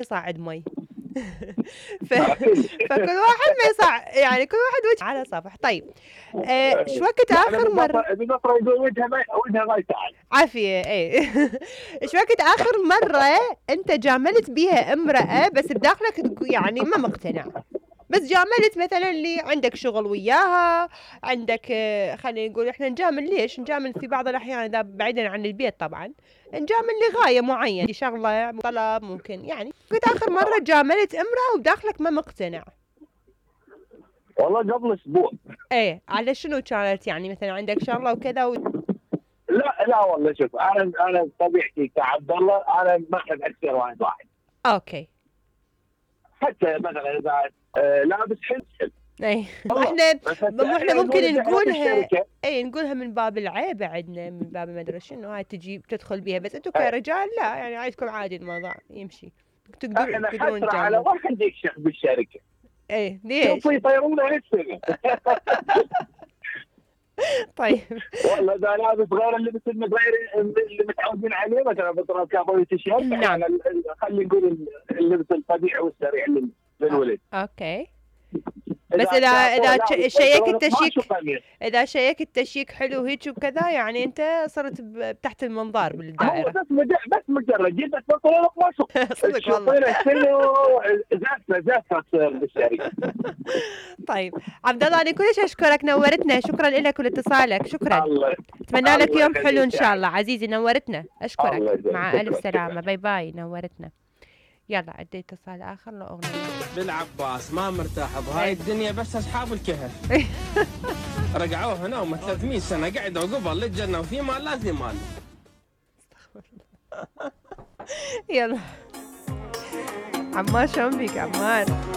يصعد مي. فكل واحد ما يصع يعني كل واحد وجه على صفح. طيب شو وقت اخر مره بالنصر يقول وجهها ما يساعد عافيه؟ ايه. شو وقت اخر مره انت جاملت بيها امراه بس بداخلك يعني ما مقتنع، بس جاملت مثلا اللي عندك شغل وياها، عندك خلينا نقول احنا نجامل ليش؟ نجامل في بعض الاحيان اذا بعيدا عن البيت طبعا، نجامل لغايه معينه، شغله طلب ممكن يعني. قلت اخر مره جاملت امراه وداخلك ما مقتنع؟ والله قبل اسبوع. ايه على شنو كانت يعني مثلا عندك شغله وكذا لا والله شوف، انا طبيعتي كعبد الله انا ما احب اكثر واحد. اوكي. حتى مثلا اذا لابس حلو. اي احنا ممكن نقولها، اي نقولها من باب العيب عندنا، من باب ما ادري شنو، هاي تجي بتدخل بيها، بس انتم كرجال لا يعني عايزكم عادي الموضوع يمشي، تقدرون حسرة على واحد يكشف بالشركه. ايه ليش؟ شوفوا يطيرونه هالسنه. طيب والله اذا لابس غير اللبس غير اللي متعودين عليه، مثلا بطل كابوي تيشيرت، نعم خلينا نقول اللبس الطبيعي والسريع للولد. اوكي. بس اذا شيك التشيك، اذا شيك التشيك حلو هيك وكذا يعني انت صرت تحت المنظار بالدائره. بس مجرد جيت تفصل لك ما صدق والله. شنو زفه تصير بالشركه. طيب عبد الله انا كلش اشكرك، نورتنا، شكرا لك ولاتصالك، شكرا. اتمنى لك يوم حلو ان شاء الله عزيزي، نورتنا، اشكرك، مع الف سلامه، باي باي، نورتنا. يلا عندي اتصال اخر لاغنيه. بالعباس ما مرتاح بهاي الدنيا، بس اصحاب الكهف رجعوا هنا وما 300 سنه قعدوا قبل للجنه وفي مال لازم مال. يلا عمار شلون بيك عمار؟